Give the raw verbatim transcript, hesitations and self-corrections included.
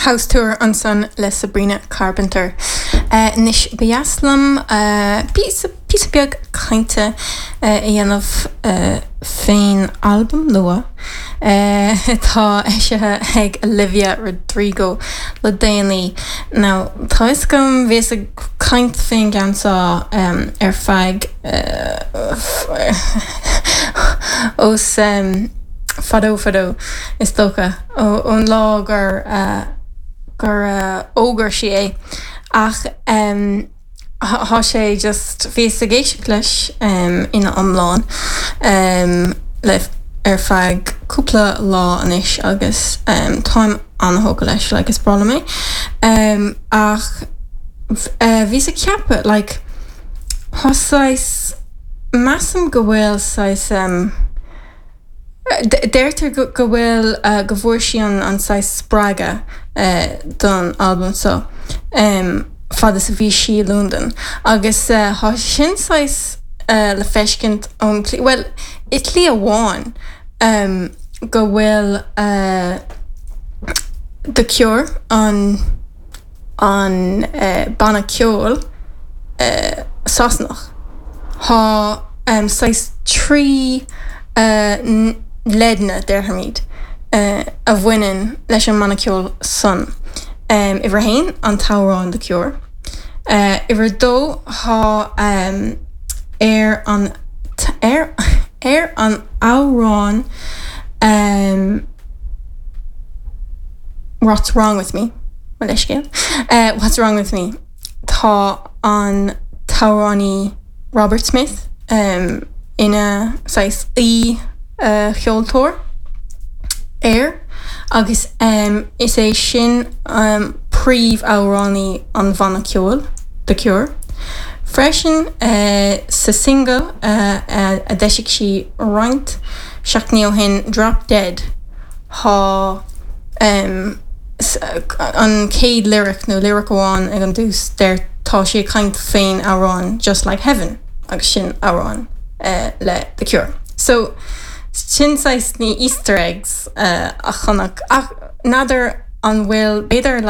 House Tour ansan le Sabrina Carpenter. Anois ba dheas liom píosa píosa beag cainte a dhéanamh fén albam nua atá eisithe ag Olivia Rodrigo le déanaí. Now tá fhios agam bhíos ag caint fén gceann seo ar feadh ós fadó fadó is dócha ón lá gur gur fhógair sí é ach tá sé just bhíos ag éisteacht leis ina iomlán le ar feadh cúpla lá anois agus táim an-tógtha leis like is breá liom é ach bhíos ag ceapadh like tá saghas measaim go bhfuil saghas Deirtear go bhfuil go bhfuair sí an an saghas spreagadh don albam seo fad is a bhí sí i Londain agus tá sin saghas le feiscint ón tslí bhuel i tslí amháin go bhfuil The Cure an an banna ceoil Sasanach. Tá saghas trí leideanna déarfaimid a bhaineann leis an mbanna ceoil san. Uimhir a haon an t-amhrán The Cure. Uimhir a dó tá ar an ar ar an amhrán What's Wrong With Me mo leithscéal What's Wrong With Me tá an t-amhránaí Robert Smith ina saghas aoi-cheoltóir air agus is é sin príomhamhránaí an bhanna ceoil The Cure. Freisin sa singil a d'eisigh sí roinnt seachtainí ó shin Drop Dead tá an chéad lyric nó lyric amháin ag an dtús deir tá sí ag caint fén amhrán Just Like Heaven agus sin amhrán le The Cure. So sin saghas na Easter eggs a chonac ach n'fheadar an bhfuil b'fhéidir like